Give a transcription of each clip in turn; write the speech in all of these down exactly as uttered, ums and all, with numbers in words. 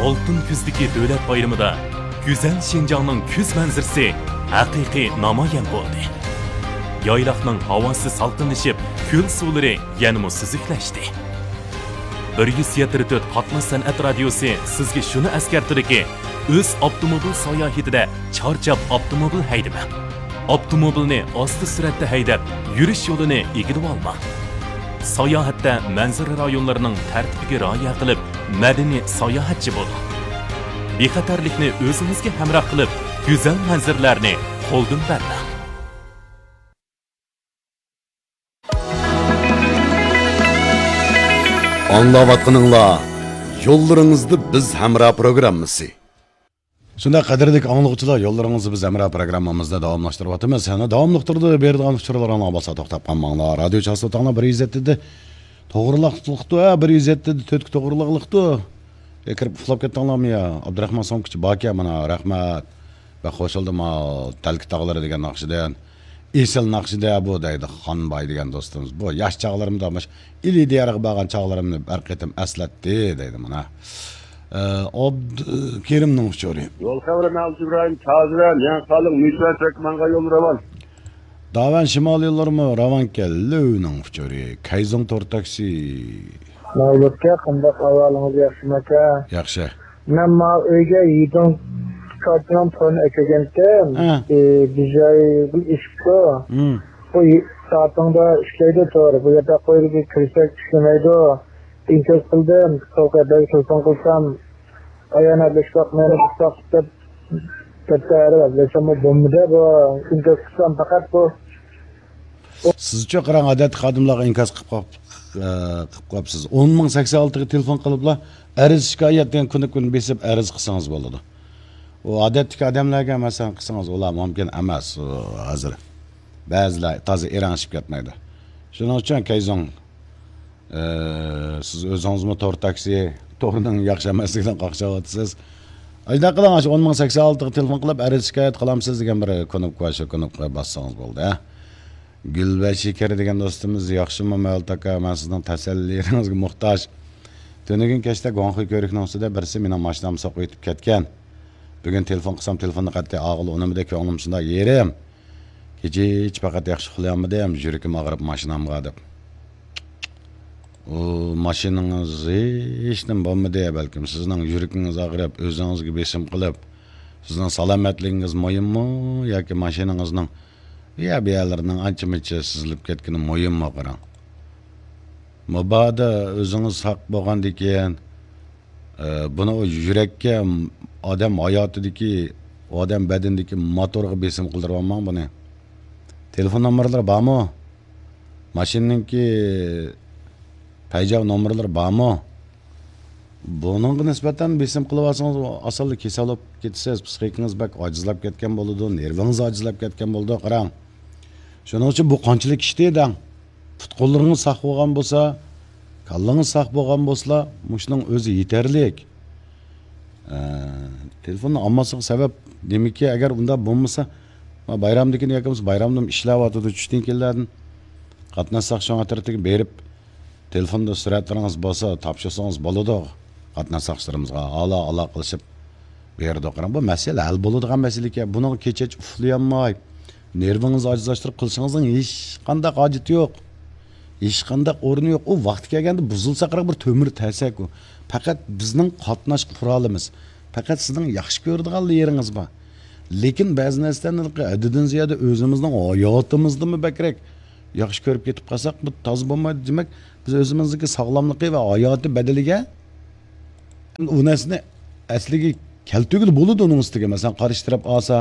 ئالتۇن كۈزدىكى دۆلەت بايرىمىدا گۈزەل شىنجاڭنىڭ كۈز مەنزىرىسى ھەقىقىي نامايان بولدى. يايلاقنىڭ ھاۋاسى سالقىنلىشىپ، كۆل سۇلىرى يەنىمۇ سۈزۈكلەشتى. بىر يۈز يەتتە تۆت قاتناش سەنئەت رادىيوسى سىزگە شۇنى ئەسكەرتىدۇكى، ئۆز ئاپتوموبىل ساياھىتىدە چارچاپ ئاپتوموبىل ھەيدىمەڭ. ئاپتوموبىلنى ئاستا سۈرئەتتە ھەيدەپ، يۈرۈش يولىنى ئىگىلىۋالماڭ. ساياھەتتە مەنزىرە رايونلىرىنىڭ تەرتىپىگە رىئايە قىلىپ، مەدەنىي ساياھەتچى بولۇڭ. بىخەتەرلىكنى ئۆزىڭىزگە ھەمراھ قىلىپ، گۈزەل مەنزىرىلەرنى قولدىن بەرمەڭ. ئاڭلاۋاتقىنىڭلار يوللىرىڭىزدا بىز ھەمراھ پروگراممىسى. شۇنداق، قەدىرلىك ئاڭلىغۇچىلار، يوللىرىڭىزدا بىز ھەمراھ پروگراممىمىزنى داۋاملاشتۇرۇۋاتىمىز. يەنە داۋاملىق تۇرىدۇ، بېرىدىغان ئۇچۇرلىرىڭلار بولسا توختاپ قالماڭلار. رادىيو چاستوتاڭلار بىر يۈز يەتتە توغرىلىقلىقتۇ، ھە، بىر يۈز يەتتە تۆتكە توغرىلىقلىقتۇ. ئە، كىرىپ ئۇخلاپ كەتتىڭلارمۇ يا؟ ئابدۇراخمان سومكىچى باركەن مانا، رەھمەت. بەك خوش بولدۇم، ھە، تەلكە تاغلىرى دېگەن ناخشىدىن. ئېسىل ناخشىدە بۇ دەيدۇ خانباي دېگەن دوستىمىز. بۇ ياش چاغلىرىمدا مۇشۇ ئىلى دىيارىغا بارغان چاغلىرىمنى بىر قېتىم ئەسلەتتى دەيدۇ مانا. ئە، ئابدۇكېرىمنىڭ ئۇچۇرى. يول خەۋىرى مەۋلىت ئىبراھىم تازىۋەن، يېڭى قالىڭ، مۈشە تەكمەنغا يول راۋان. داۋەن شىمال يوللىرىمۇ راۋانكەن، لۆۋنىڭ ئۇچۇرى. كەيزۇڭ تور تاكسى. مەۋلۇتكە قانداق ئەھۋالىڭىز، ياخشىمۇ ئاكا؟ ياخشى. مەن ماۋۇ ئۆيگە يىدىڭ كارتىنىڭ تورىنى ئەكەلگەنتىم. ھە. ئى، بىر جاي بىر ئېشىپتۇ. ھىم. بۇ يى-، سائىتىڭدا ئىشلەيدۇ تور. بۇ يەردە قويۇلۇپ كىرسەك ئىشلىمەيدۇ. ئىنكاس قىلدىم. سول قەدەمگە تېلېفون قىلسام، ئايان ئەبلەشكە مېنى قىستاق دەپ، دەپتە ئەرەب ئەبلەشەممۇ بولمىدى بۇ. ئىنكاس قىلسام پەقەت بۇ. سىزچۇ قاراڭ، ئادەتتىكى خادىملارغا ئىنكاس قىلىپ قاپ-، ئە، قىلىپ قاپسىز. ئون مىڭ سەكسەن ئالتىغا تېلېفون قىلىپلا، ئەرز شىكايەت دېگەن كۇنۇپكىنى بېسىپ ئەرز قىلسىڭىز بولىدۇ. ئۇ ئادەتتىكى ئادەملەرگە مەسىلەن قىلسىڭىز، ئۇلار مۇمكىن ئەمەس، ئۇ ھازىر. بەزىلەر تازا ئېرەڭشىپ كەتمەيدۇ. شۇنىڭ ئۈچۈن كەيزۇڭ، ئى، سىز ئۆزىڭىزمۇ تور تاكسى، تورنىڭ ياخشى ئەمەسلىكىدىن قاقشاۋاتىسىز. ئاشۇنداق قىلىڭ، ئاشۇ ئون مىڭ سەكسەن ئالتىغا تېلېفون قىلىپ ئەرز شىكايەت قىلامسىز دېگەن بىر كۇنۇپكا بار، شۇ كۇنۇپكىغا باسسىڭىز بولدى، ھە. گۈل ۋە شېكەر دېگەن دوستىمىز، ياخشىمۇ مەۋلۇت ئاكا؟ مەن سىزنىڭ تەسەللىلىرىڭىزگە موھتاج. تۈنۈگۈن كەچتە گۇاڭخۇي كۆۋرۈكنىڭ ئۈستىدە بىرسى مېنىڭ ماشىنامنى سوقۇۋېتىپ كەتكەن. بۈگۈن تېلېفون قىلسام، تېلېفوننى قەتئىي ئالغىلى ئۇنىمىدى، كۆڭلۈم شۇنداق يېرىم. كېچە ھېچ پەقەت ياخشى ئۇخلىيالمىدىم، يۈرىكىم ئاغرىپ ماشىنامغا دەپ. ئۇ، ماشىنىڭىز ھېچنېمە بولمىدى، بەلكىم سىزنىڭ يۈرىكىڭىز ئاغرىپ، ئۆزىڭىزگە بېسىم قىلىپ، سىزنىڭ سالامەتلىكىڭىز مۇھىممۇ ياكى ماشىنىڭىزنىڭ يا بۇ يەرلىرىنىڭ ئانچە-مۇنچە سىزىلىپ كەتكىنى مۇھىممۇ قاراڭ. مۇبادا ئۆزىڭىز ساق بولغاندىكىن، ئە، بۇنى ئۇ يۈرەككە، ئادەم ھاياتىدىكى، ئادەم بەدىنىدىكى موتورغا بېسىم قىلدۇرۇۋالماڭ بۇنى. تېلېفون نومۇرلىرى بارمۇ؟ ماشىنىنىڭكى پەيجاۋ نومۇرلىرى بارمۇ؟ بۇنىڭغا نىسبەتەن بېسىم قىلىۋالسىڭىز، ئاسانلا كېسەل بولۇپ كېتىسىز، پىسخىكىڭىز بەك ئاجىزلاپ كەتكەن بولىدۇ، نېرۋىڭىز ئاجىزلاپ كەتكەن بولىدۇ، قاراڭ. شۇنىڭ ئۈچۈن بۇ قانچىلىك ئىشتى دەڭ. پۇت-قوللىرىڭىز ساق بولغان بولسا، كاللىڭىز ساق بولغان بولسىلا، مۇشۇنىڭ ئۆزى يېتەرلىك. ئە، تېلېفوننى ئالماسلىقى سەۋەب، دېمىكى، ئەگەر ئۇنداق بولمىسا، ما بايرامدىكىنى ياكى بولمىسا بايرامدىمۇ ئىشلەۋاتىدۇ، چۈشتىن كېيىنلەردىن قاتناشساق، شۇ ئەترىتىگە بېرىپ، تېلېفوندا سۈرەتلىرىڭىز بولسا، تاپشۇرسىڭىز بولىدۇ. قاتناش ساقچىلىرىمىزغا ئالا-، ئالاقىلىشىپ بېرىدۇ. قاراڭ، بۇ مەسىلە ھەل بولىدىغان مەسىلە ئىكەن. بۇنىڭغا كېچە ئۇخلىيالماي، نېرۋىڭىزنى ئاجىزلاشتۇرۇپ قىلىشىڭىزنىڭ ھېچقانداق ھاجىتى يوق. ھېچقانداق ئورنى يوق. ئۇ ۋاقتى كەلگەندە بۇزۇلسا، قاراڭ، بىر تۆمۈر تەسەك ئۇ. پەقەت بىزنىڭ قاتناش قورالىمىز. پەقەت سىزنىڭ ياخشى كۆرىدىغانلا يېرىڭىز بار. لېكىن بەزى نەرسىلەرنى ھەددىدىن زىيادە ئۆزىمىزنىڭ ھاياتىمىزدىنمۇ بەكرەك ياخشى كۆرۈپ كېتىپ قالساق، بۇ تازا بولمايدۇ. دېمەك، بىز ئۆزىمىزنىڭكى ساغلاملىقى ۋە ھاياتى بەدىلىگە ئۇ نەرسىنى ئەسلىگە كەلتۈرگىلى بولىدۇ ئۇنىڭ ئۈستىگە. مەسىلەن، قارشى تەرەپ ئالسا،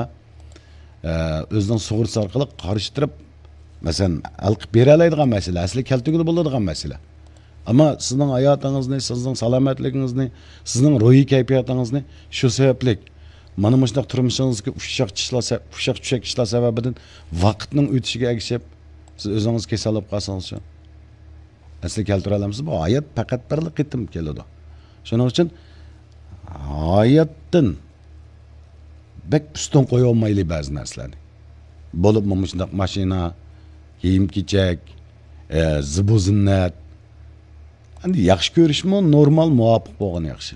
ئە، ئۆزىنىڭ سۇغۇرتىسى ئارقىلىق قارشى تەرەپ، مەسىلەن، ھەل قىلىپ بېرەلەيدىغان مەسىلە، ئەسلىگە كەلتۈرگىلى بولىدىغان مەسىلە. ئەمما سىزنىڭ ھاياتىڭىزنى، سىزنىڭ سالامەتلىكىڭىزنى، سىزنىڭ روھىي كەيپىياتىڭىزنى شۇ سەۋەبلىك، مانا مۇشۇنداق تۇرمۇشىڭىزدىكى ئۇششاق چىشلار سە-، ئۇششاق چۈشەك ئىشلار سەۋەبىدىن ۋاقىتنىڭ ئۆتۈشىگە ئەگىشىپ، سىز ئۆزىڭىز كېسەل بولۇپ قالسىڭىزچۇ؟ ئەسلىگە كەلتۈرەلەمسىز؟ بۇ ھايات پەقەت بىرلا قېتىم كېلىدۇ. شۇنىڭ ئۈچۈن ھاياتتىن بەك ئۈستۈن قويۇۋالمايلى بەزى نەرسىلەرنى. بولۇپمۇ مۇشۇنداق ماشىنا، كىيىم-كېچەك، ئە، زىبۇ-زىننەت. ئەمدى ياخشى كۆرۈشمۇ نورمال، مۇۋاپىق بولغىنى ياخشى.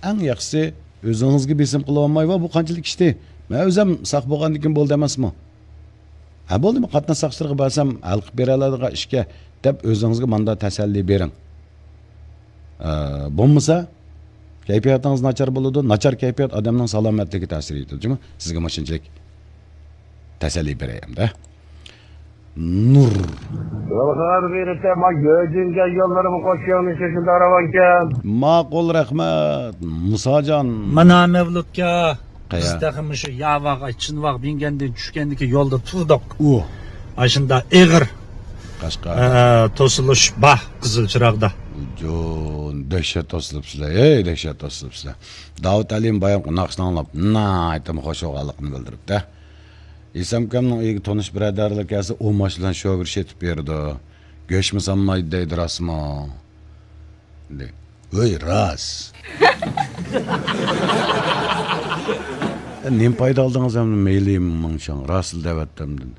ئەڭ ياخشىسى ئۆزىڭىزگە بېسىم قىلىۋالماي، ۋا بۇ قانچىلىك ئىشتى، مەن ئۆزۈم ساق بولغاندىن كېيىن بولدى ئەمەسمۇ؟ ھە، بولدىمۇ، قاتناش ساقچىلىرىغا بەرسەم ھەل قىلىپ بېرەلەيدىغان ئىشكەن دەپ ئۆزىڭىزگە ماندا تەسەللى بېرىڭ. ئە، بولمىسا كەيپىياتىڭىز ناچار بولىدۇ. ناچار كەيپىيات ئادەمنىڭ سالامەتلىكىگە تەسىر يېتىدۇ. جۇمۇ، سىزگە مۇشۇنچىلىك تەسەللى بېرەي ئەمدى. نۇر. يولغا بېرىپ، ما گۆجۈنگە يوللىرىمۇ قوشۇڭنى شۇنداق راۋانكەن. ماقۇل، رەھمەت. مۇساجان. مانا مەۋلۇتكا. قەيە؟ بىز تېخى مۇشۇ ياۋاغ، چىنۋاغ دېگەندىن چۈشكەندىكى يولدا تۇردۇق. ئۇ. ئاشۇندا ئېغىر، قەشقەر. ئە، توسۇلۇش بار قىزىل چىراغدا. جون، دەھشەت توسۇلۇپسىلەر، ھەي، دەھشەت توسۇلۇپسىلەر. داۋۇت ئەلىم بايامقى ناخشىنى ئاڭلاپ، ناھايىتى خۇش بولغانلىقىنى بىلدۈرۈپتۇ. ئېسەمكەمنىڭ ئۆيىگە تونۇش بۇرادەرلەر كەلسە، ئۇ ماشىنا بىلەن شوفېر شېتىپ بېرىدۇ. گۆشمۇ سانمايدۇ دەيدۇ، راستمۇ؟ دەيدۇ. ھۆي، راست. نېمە پايدا ئالدىڭىز ئەمدى؟ مەيلى مىڭشاڭ، راستلا دەۋەتتىم دېدى.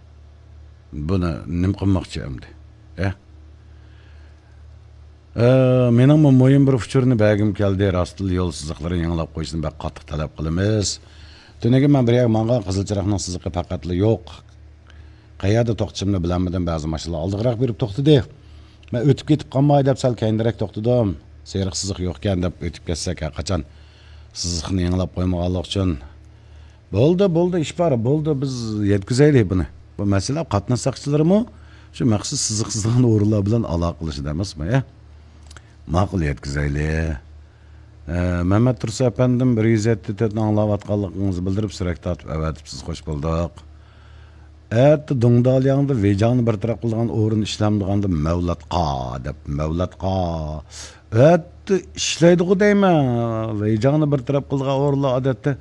بۇنى نېمە قىلماقچى ئەمدى؟ ھە؟ ئە، مېنىڭمۇ مۇھىم بىر ئۇچۇرنى بەرگۈم كەلدى. راستلا يول سىزىقلىرىنى يېڭىلاپ قويۇشنى بەك قاتتىق تەلەپ قىلىمىز. تۈنۈگۈن مەن بىر يەرگە ماڭغان، قىزىل چىراغنىڭ سىزىقى پەقەتلا يوق. قەيەردە توختىشىمنى بىلەلمىدىم. بەزى ماشىنىلار ئالدىغىراق بېرىپ توختىدى. مەن ئۆتۈپ كېتىپ قالماي دەپ سەل كەينىرەك توختىدىم. سېرىق سىزىق يوقكەن دەپ ئۆتۈپ كەتسەك، ھەرقاچان سىزىقنى يېڭىلاپ قويمىغانلىقى ئۈچۈن. بولدى، بولدى، ئىش بار، بولدى، بىز يەتكۈزەيلى بۇنى. بۇ مەسىلە قاتناش ساقچىلىرىمۇ شۇ مەخسۇس سىزىق سىزغان ئورۇنلار بىلەن ئالاقىلىشىدۇ ئەمەسمۇ، يا؟ ماقۇل، يەتكۈزەيلى. ئە، مەمەت تۇرسۇن ئەپەندىم، بىر يۈز يەتتە تۆتنى ئاڭلاۋاتقانلىقىڭىزنى بىلدۈرۈپ، سۈرەت تارتىپ ئەۋەتىپسىز، خوش بولدۇق. ئەتە دۇڭدالياڭدا ۋېيجاڭنى بىر تەرەپ قىلىدىغان ئورۇن ئىشلەمدىغاندا مەۋلاتقا دەپ، مەۋلاتقا. ئەتە ئىشلەيدىغۇ دەيمەن، ۋېيجاڭنى بىر تەرەپ قىلىدىغان ئورۇنلار ئادەتتە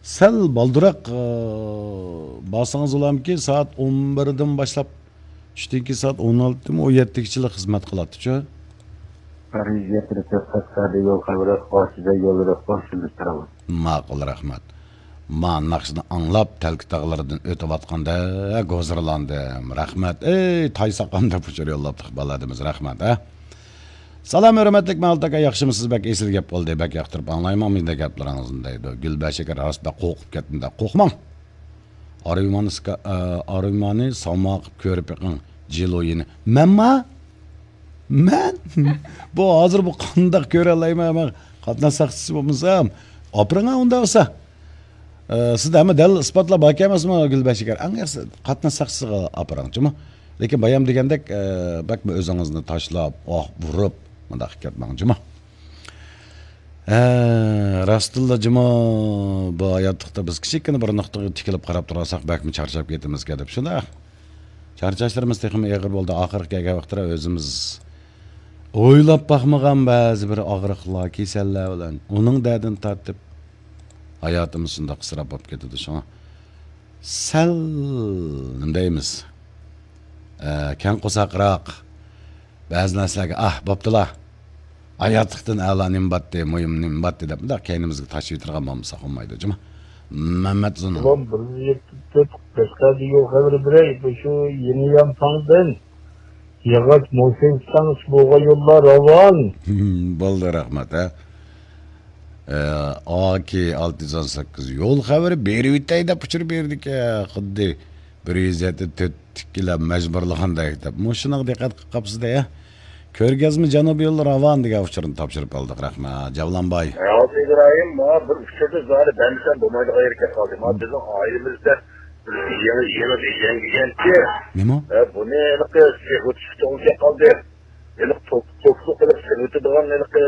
سەل بالدۇراق، ئى، بارسىڭىز بولامكى، سائەت ئون بىردىن باشلاپ، چۈشتىن كېيىن سائەت ئون ئالتىدىن ئون يەتتىگىچىلا خىزمەت قىلاتتىچۇ. پەرىز يەتتە تۆت قەشقەردە يول خەۋىرى، قوشىدا يوللىرى قوشۇلۇپ تۇرىمىز. ماقۇل، رەھمەت. ما ناخشىنى ئاڭلاپ، تەلكە تاغلىرىدىن ئۆتۈۋاتقاندا ھوزۇرلاندىم. رەھمەت. ئەي، تاي ساقام دەپ ئۇچۇر يوللاپتۇق بالادىمىز. رەھمەت، ھە. سالام، ھۆرمەتلىك مەۋلۇت ئاكا، ياخشىمۇسىز؟ بەك ئېسىل گەپ بولدى، بەك ياقتۇرۇپ ئاڭلايمەن مۇنداق گەپلىرىڭىزنى دەيدۇ. گۈلبەشەكەر، راست بەك قورقۇپ كەتتىم دە. قورقماڭ. ئارىمانى سىكا-، ئە، ئارىمانى ساۋما قىپ كۆرۈپ بېقىڭ، جىلويىنى. مەنما؟ مەن؟ بۇ ھازىر بۇ قانداق كۆرەلەيمەن؟ مەن قاتناش ساقچىسى بولمىسام. ئاپىرىڭ ئۇنداق بولسا. ئە، سىزدە ھەممە دەلىل ئىسپاتلار باركەن ئەمەسمۇ، گۈلبەشەكەر؟ ئەڭ ياخشىسى قاتناش ساقچىسىغا ئاپىرىڭ، جۇمۇ. لېكىن بايام دېگەندەك، ئە، بەكمۇ ئۆزىڭىزنى تاشلاپ، ئاھ، ئۇرۇپ، مۇنداق كەتمەڭ، جۇمۇ. ھە، راستتىنلا جۇمۇ، بۇ ھاياتلىقتا بىز كىچىككىنە بىر نۇقتىغا تىكىلىپ قاراپ تۇرالىساق، بەكمۇ چارچاپ كېتىمىزكەن دەپ. شۇنداق. چارچاشلىرىمىز تېخىمۇ ئېغىر بولدى. ئاخىرقى كەلگەن ۋاقىتتا ئۆزىمىز ئويلاپ باقمىغان بەزى بىر ئاغرىقلار، كېسەللەر بىلەن ئۇنىڭ دەردىنى تارتىپ، ھاياتىمىز شۇنداق ئىسراپ بولۇپ كېتىدۇ. شۇڭا سەل، نېمە دەيمىز، ئە، كەڭ قورساقراق، بەزى نەرسىلەرگە، ئاھ، بوپتۇلا، ھاياتلىقتىن ئەلا نېمە باتتى، مۇھىم نېمە باتتى دەپ، مۇنداق كەينىمىزگە تاشلىۋېتىدىغان بولمىساق بولمايدۇ، جۇمۇ. مەمەت زۇنۇن. ئۇلان بىر يەتتە تۆت قەشقەردە يول خەۋىرى بېرەي، بۇ شۇ يېنى يانفاڭدىن ياغاچ موسىن ئىستانسىسى بولغان يوللار راۋان. بولدى، رەھمەت، ھە. ئە، ئاكى ئالتە يۈز ئون سەككىز يول خەۋىرى بېرىۋېتەي دەپ ئۇچۇر بېرىدىكەن، خۇددى بىر يۈز يەتتە تۆتتىكىلەر مەجبۇرلىغاندەك دەپ. مۇشۇنىڭغا دىققەت قىلىپ قاپسىز-دە، يا؟ كۆرگەزمە جەنۇبىي يوللار راۋان دېگەن ئۇچۇرنى تاپشۇرۇپ ئالدۇق، رەھمەت. جەۋلانباي. ئابدۇ ئىبراھىم، ماڭا بىر ئۇچۇردا زادى بەرمىسەم بولمايدىغان يېرى كەپ قالدى. مانا بىزنىڭ ئائىلىمىزدە بىر يېڭى، يېڭى بىر يەڭگىگەنچى. نېمە؟ ھە، بۇنى ھېلىقى سېغىۋېتىشكە توغرا كەپ قالدى. ھېلىقى توك-، توكلۇق قىلىپ سېغىۋېتىدىغان ھېلىقى